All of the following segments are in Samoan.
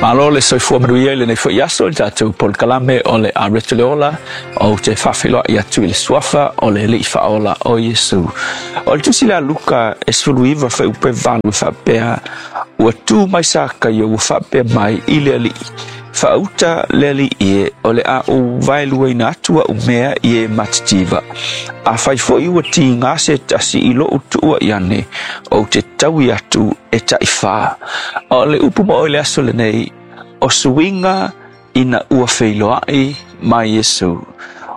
Malo le soifua manuia i lenei foi aso i le tatou polokalame o le Areto le Ola, ou te faafeiloai atu i le suafa o le Alii Faaola o Iesu. O le tusi lea a Luka e 19 fuaiupu e 8 e faapea, Ua tu mai Sakaio ua faapea mai i le Alii, Faauta le Alii e, o le a ou vaeluaina atu au mea i e matitiva. Afai foi ua tiga se tasi i lou tuuai ane, ou te taui atu e taifā. O le upu mo oe i le aso lenei, o suiga ina ua feiloai ma Iesu.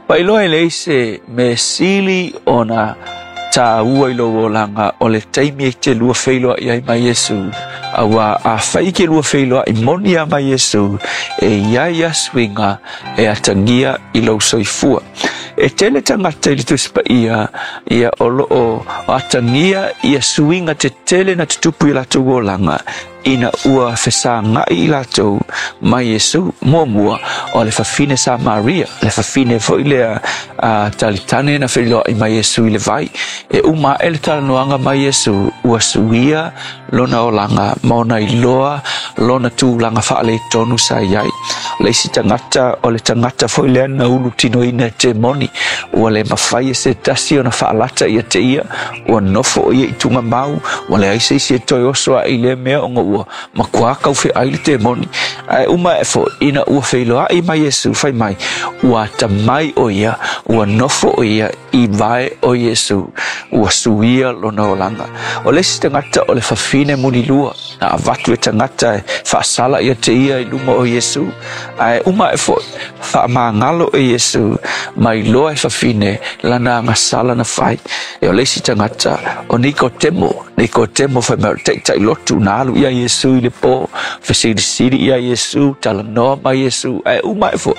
Ua iloa e leai se mea sili ona tāua i lou olaga o le taimi e te lua feiloai ai ma Iesu. Auā afai e te lua feiloai moni lava ma Iesu, e i ai lava suiga e atagia i lou soifua. E tele tagata i le Tusi Paia ia o lo o atagia ia suiga tetele na tutupu i latou olaga ina ua fesagai i latou ma Iesu. Muamua, o le fafine Samaria, le fafine foi lea a talitane na feiloai ma Iesu i le vai. E uma ae le talanoaga ma Iesu, ua suia lona olaga ma ona iloa lona tulaga faaletonu sa i ai. O le isi tagata, o le tagata foi lea na ulutinoina e temoni, ua le mafai e se tasi ona faalata ia te ia, ua nofo o ia i tugamau, ua leai se isi e toe oso ae i lea mea ona ua matua taufeai le temoni. Ae uma ae foi, ina ua feiloai ma Iesu, fai mai, ua atamai o ia, ua nofo o ia i vae o Iesu, ua suia lona olaga. O le isi tagata o le fafine mulilua, na avatu e tagata e faasala ia te ia i luma o Iesu, ae uma ae foi, faamagalo e Iesu, ma iloa e fafine lana agasala na fai. E o le isi tagata o Nikotemo, Nikotemo fai mai o le taitai lotu na alu ia Iesu i le po, fesilisili ia Iesu, talanoa ma Iesu, ae uma ae foi,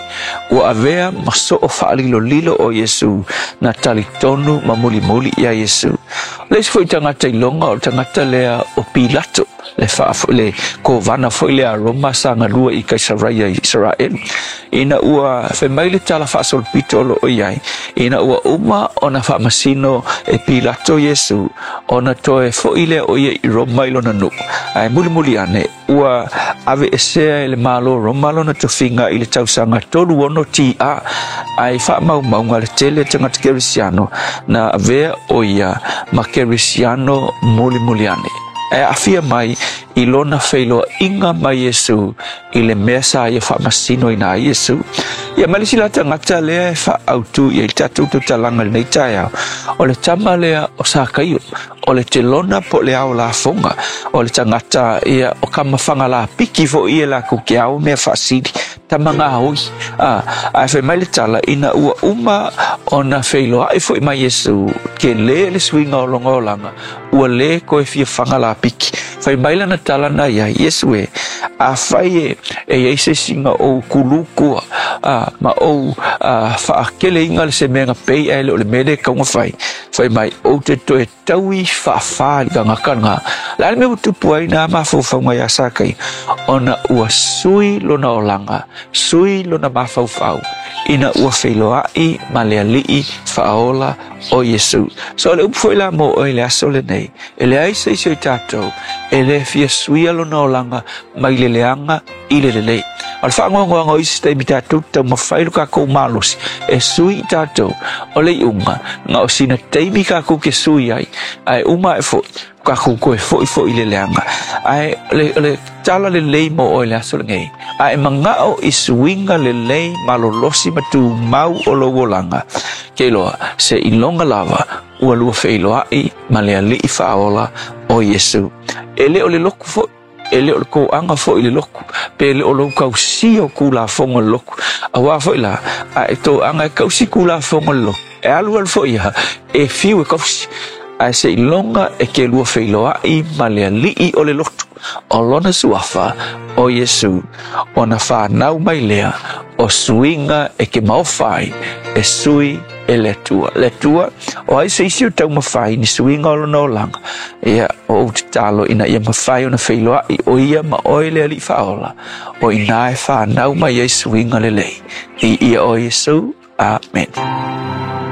ua avea ma soo faalilolilo o Iesu na talitonu ma mulimuli ia Iesu. O le isi foi tagata iloga o le tagata lea o Pilato, le faa le kovana foi lea a Roma sa galue i Kaisaraia i Isaraelu. Ina ua fai mai le tala faasolopito o lo o i ai, ina ua uma ona faamasino e Pilato Iesu, ona toe foi lea o ia i Roma i lona nuu. Ae mulimuli ane, ua aveesea e le Malo Roma lona tofiga i le tausaga 36 TA, ae i faamaumauga le tele o tagata Kerisiano na avea o ia ma Kerisiano mulimuli ane. E aafia mai i lona feiloaiga ma Iesu i le mea sa ia faamasinoina ai Iesu. Ia ma le isi la tagata lea e faaautu i ai le tatou tautalaga i lenei taeao, o le tama lea o Sakaio, o le telona po o le ao lafoga, o le tagata ia o kamafaga lapiki foi ia lakou te ao mea faasili, tama gaoi. A, ae fai mai le tala, ina ua uma ona feiloai foi ma Iesu, tele le suiga o lona olaga, ua le toe fia faga lapiki. Fai mai lana tala na i ai, Iesu e, afai e, e i ai se isi na ou kuluku a, ma ou faakeleina le se mea na pei ae le o le mea lea e tatau ona fai, fai mai, ou te toe taui faafā i le tagata lena. O le a le mea ua tupu ai nā mafaufauga iā Sakai? Ona ua sui lona olaga, sui lona mafaufau, ina ua feiloai ma le Alii Faaola o Iesu. So o le upu foi la mo oe i le aso lenei, e leai se isi o i tatou e le fia suia lona olaga mai le leaga i le lelei. O le faanoanoaga o isi taimi tatou te taumafai lo kakou malosi e sui i tatou, o le iuga, na o sina taimi kakou ke sui ai, ae uma ae foi, kakou toe foi foi i le leaga. Ae o le tala lelei mo oe i le aso lenei, a e manao i suiga lelei malolosi ma tumau o lou olaga, ke iloa, se iloga lava ua lua feiloai ma le Alii Faaola o Iesu. E le o le lotu foi, e le o le toaga foi i le lotu, pe le o lou tausia o Tulafono a le lotu. Auā foi la, a e toaga e tausi Tulafono a le lotu, e alualu foi ia, e fiu e tausi. Ae seiloga e ke lua feiloai ma le Alii o le lotu, o lona suafa o Iesu, ona fanau mai lea o suiga e ke maofa ai e sui e le Atua. Le Atua, o ai se isi o taumafai ni suiga o lona olaga, ia, o ou tatalo ina ia mafai ona feiloai o ia ma oe le Alii Faaola, o inā e fanau mai ai suiga lelei. I ia o Iesu. Amene.